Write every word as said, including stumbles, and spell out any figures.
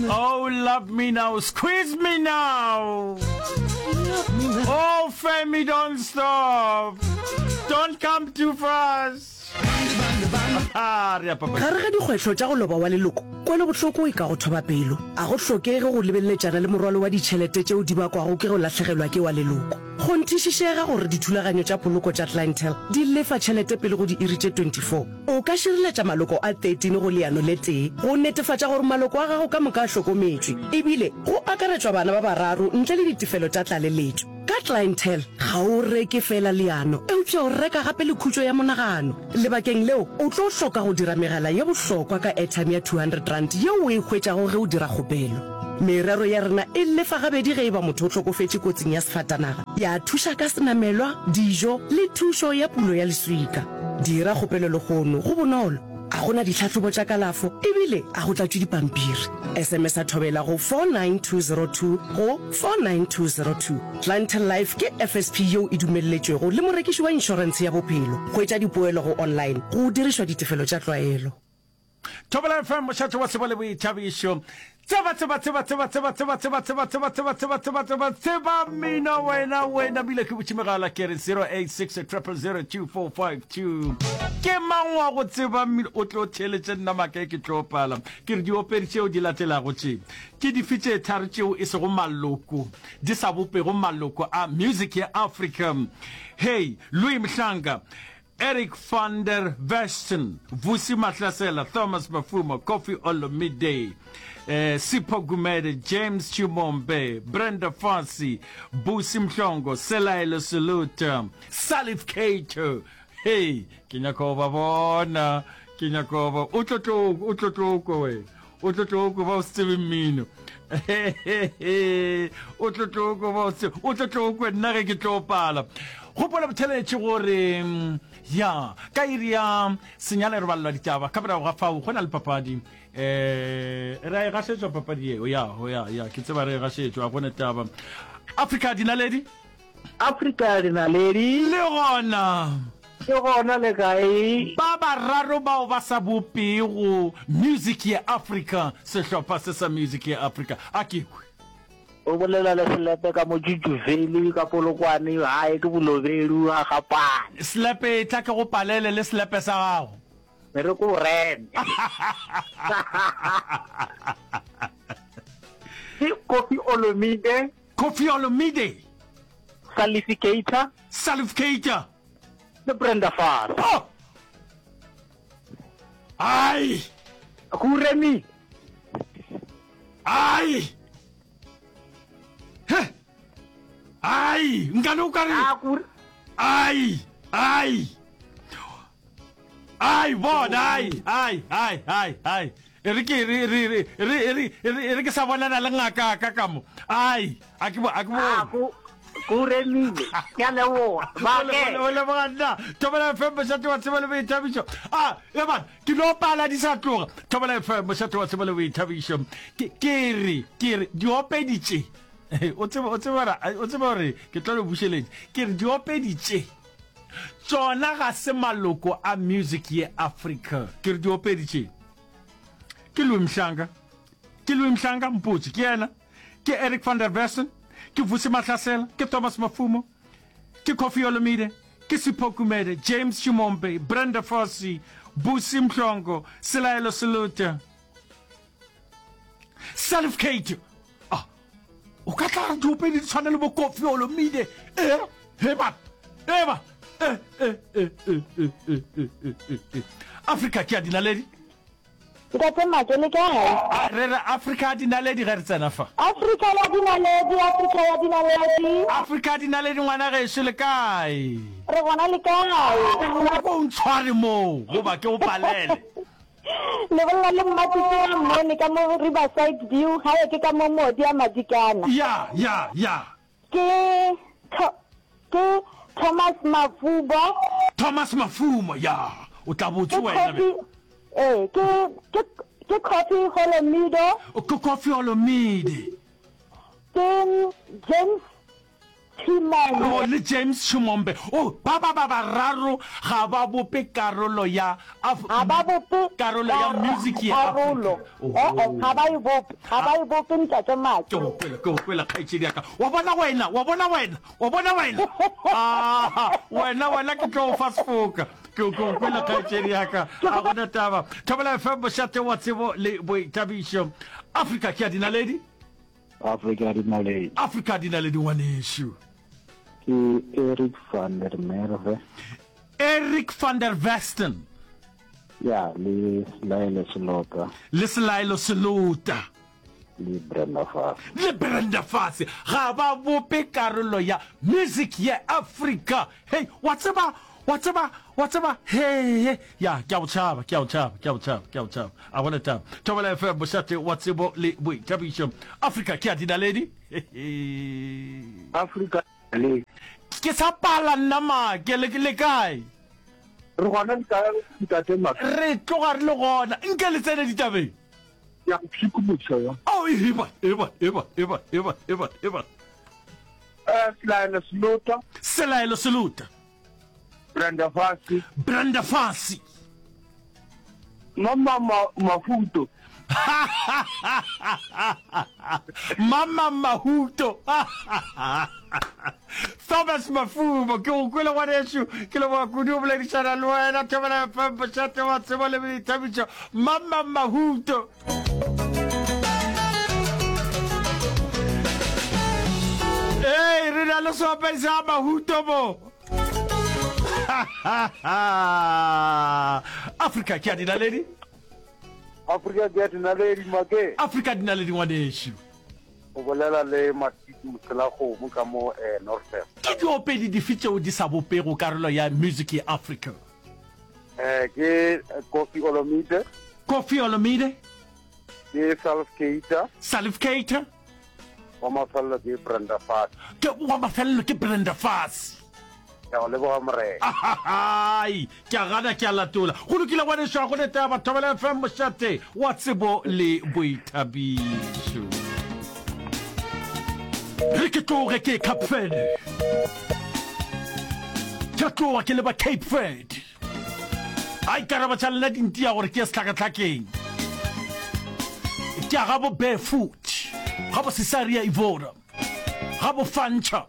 Oh, love me now, squeeze me now. Oh, Femi, don't stop. Don't come too fast. Ah, re ya papa. Gare ga dikgwetlho tša go loba wa leloko, kwelobohloko e ka go thoba pelo. A go hlokege go lebeleletšana le morwalo wa ditšhelete tšeo di bakwago ke go lahlegelwa ke wa leloko. Kgonthišišega gore dithulaganyo tša poloko tša Clientele di lefa tšhelete pele go diiri tše twenty four. O ka šireletša maloko a thirteen go leano le tee go netefatša gore maloko a gago ka moka a hlokometšwe, ebile go akaretšwa bana ba bararo ntle le ditefelo tša tlaleletšo. Ka Clientele, ga o reke feela leano, eupša o reka gape le khutšo ya monagano. Lebakeng leo, o tlo hloka go dira megala ye bohlokwa ka airtime ya two hundred rand yeo o e hwetšago ge o dira kgopelo. Merero ya rena e lefa gabedi ge e ba motho o hlokofetše kotsing ya sefatanaga, ya thuša ka senamelwa, dijo le thušo ya pulo ya leswika. Dira kgopelo lehono, go bonolo, a go na ditlhahlobo tša kalafo ebile a go tlatšwe dipampiri. S M S a Thobela go four nine two zero two go four nine two zero two. Clientele Life ke F S P yeo e dumelletšwego le morekiši wa inšorentshe ya bophelo. Hwetša dipoelo go online go dirišwa ditefelo tša tlwaelo. Thobela F M, mošate wa tsebo le boithabišo. Tseba, tseba, tseba, tseba, tseba, tseba, tseba, tseba, tseba, tseba, tseba, tseba, tseba, tseba mmino wena, wena bile ke butše megala ke re zero eight six triple zero two four five two. Ke mang wa go tseba mmino? O tlo theeletše nna maaka e ke tlo pala. Ke re diopedi tšeo di latelago tše ke dife tše tharo tšeo e sego maloko, di sa bopego maloko a music ya Africa? Hey, Louis Mhlanga, Eric van der Westhuizen, Vusi Mahlasela, Thomas Mafumo, Koffi Olomide, eh, Sipho Gumede, James Chimombe, Brenda Fassie, Busi Mhlongo, Selaelo Seluta, Salif Keita. Hey, ke nyaka go ba bona, ke nyaka go ba. O tlo tlo, o tlo tlo kwe wena. O tlo tlo kwe ba o se tsebe mmino. O tlo tlo kwe ba o se, o tlo tlo kwe nna ge ke tlo pala. Gopola botheletše gore ya ka iri ya senyane re balelwa ditaba, ka morago ga fao go na le papadi. Eh, re a e gašetšwa papadi yeo, ya, ya, ya, ke tseba re e gašetšwa, ga gona taba. Afrika dinaledi. Afrika dinaledi. Le gona. Ke gona le kae? Ba bararo bao ba sa bopego Music ya Afrika, sehlopha se sa Music ya Afrika. A ke kwe. O bolela le Selepe ka mo Jujuveli, ka Polokwane, gae ke Bolobedu, ga Gapane. Selepe, etla ke go palele le selepe sa gago. Re re ko reme. Ke Koffi Olomide. Koffi Olomide. Salif Keita. Salif Keita. Le Brenda Fassie. Oh! Ai! Go remi. Ai! He! Ai! Nkane o ka re. Ai! Ai! Ai, bona, ai, ai, ai, ai, ai. E re ke re re re re re re re ke sa bonana le ngaka ka ka mo. Ai, a ke bo a ke bo. A go go remile. Ke a leboga. Ba ke. O leboga nna. Thobela F M mošate wa tsebo le boithabišo. Ah, e man, ke no pala di sa tloga. Thobela F M mošate wa tsebo le boithabišo. Ke ke re ke re diopedi tše. O tsebe o tsebe o tsebe gore ke tlo le bušeletša. Ke re diopedi tše. Tšona ga se maloko a music ye Africa. Ke re diopedi tše. Ke Louis Mhlanga. Ke Louis Mhlanga, mpotše, ke yena. Ke Eric van der Westhuizen, ke Vusi Mahlasela, ke Thomas Mafumo, ke Koffi Olomide, ke Sipho Gumede, James Chimombe, Brenda Fassie, Busi Mhlongo, Selaelo Seluta, Salif Keita. Ah, o ka tla re diopedi di tshwana le bo Koffi Olomide. Eh, he ba, eh ba, eh, eh, eh, eh, eh, eh, eh, eh, eh, eh. Afrika ke ya dinaledi. Ntate Make, le kae? A re re Afrika ya dinaledi ge re tsena fa. Afrika ya dinaledi, Afrika ya dinaledi. Afrika ya dinaledi ngwana gešo, le kae? Re gona, le kae? A ko o ntshware moo goba ke o palele. Le bolela le Mmatšitši wa Mmone ka mo Riverside View, gae ke ka mo Modi a Madikana. Ya, ya, ya. Ke Tho, ke Thomas Mafubo. Thomas Mafumo, ya. O tla botse Ke wena be. Kofi, ee, ke, ke, ke Kofi Olomido. Ke Kofi Olomide. Ke James Chimombe. Oh, le James Chimombe. Oh, ba ba ba bararo ga ba bope karolo ya Af Ga ba bope karolo ya kar music ya karolo. Afrika. Eh-eh, Oh. ga ba e bope. Ga ba e bope, Ntate Make. Ke go kwele, ke go kwele, kgaetšedi ya ka. Wa bona wena, wa bona wena, wa bona wena. Ah, wena, wena ke tlo go fa sefoka. Ke ke go kwele, kgaetšedi ya ka. Ga gona taba. Thobela F M, mošate wa tsebo le boithabišo. Afrika ke ya dinaledi. Afrika ya dinaledi. Afrika ya dinaledi, ngwanešu. Ke Eric van der Merwe. Eric van der Westen. Ya, le Selaelo Selota. Le Selaelo Selota. Le Brenda Fassie. Le Brenda Fassie. Ga ba bope karolo ya music ya Afrika. Hei, wa tseba, wa tseba, wa tseba, he, he. Ya, ke a go tšhaba, ke a go tšhaba, ke a go tšhaba, ke a go tšhaba. A gona taba. Thobela F M, mošate wa tsebo le boithabišo. Afrika ke ya dinaledi. Afrika le. Ke sa pala nna make, le, le kae? Re gona le kae, ntate Make? Re tloga re le gona. Nke le tsene ditabeng. Ya go pshikološa yo. Oh, eba, eba, eba, eba, eba, eba, eba. Eh, Selaelo Selota. Selaelo Selota. Brenda Fassie. Brenda Fassie. Mama Mahuto. Mama Mahuto. Thomas Mafumo, ke go kwele ngwanešu, ke leboga kudu go boledišana le wena. Thobela F M, mošate wa tsebo le boithabišo. Mama Mahuto. Hey, re na le seopedi sa Mahuto mo. Afrika ke ya dinaledi. Afrika ke ya dinaledi, Make. Afrika dinaledi, ngwanešu. O bolela le Matiti Moselakgomo ka mo, eh, Northern. Ke diopedi dife tšeo di sa bopego karolo ya music ya Afrika? Eh, ke Koffi Olomide. Koffi Olomide. Ke Salif Keita. Salif Keita. Wa mafelelo ke Brenda Fassie. Ke wa mafelelo ke Brenda Fassie. Ke a go leboga, Morena. Ahai, ke a gana, ke a latola. Go lokile, ngwanešu, ga go ne taba. Thobela F M, mošate wa tsebo le boithabišo. Re ke tloge ke Cape Verde. Ke tloga ke leba Cape Verde. Ai, karabo tša lena di ntia gore ke ye sehlakahlakeng. Ke a ga bo Barefoot, ga bo Cesaria Evora, ga bo Fancha.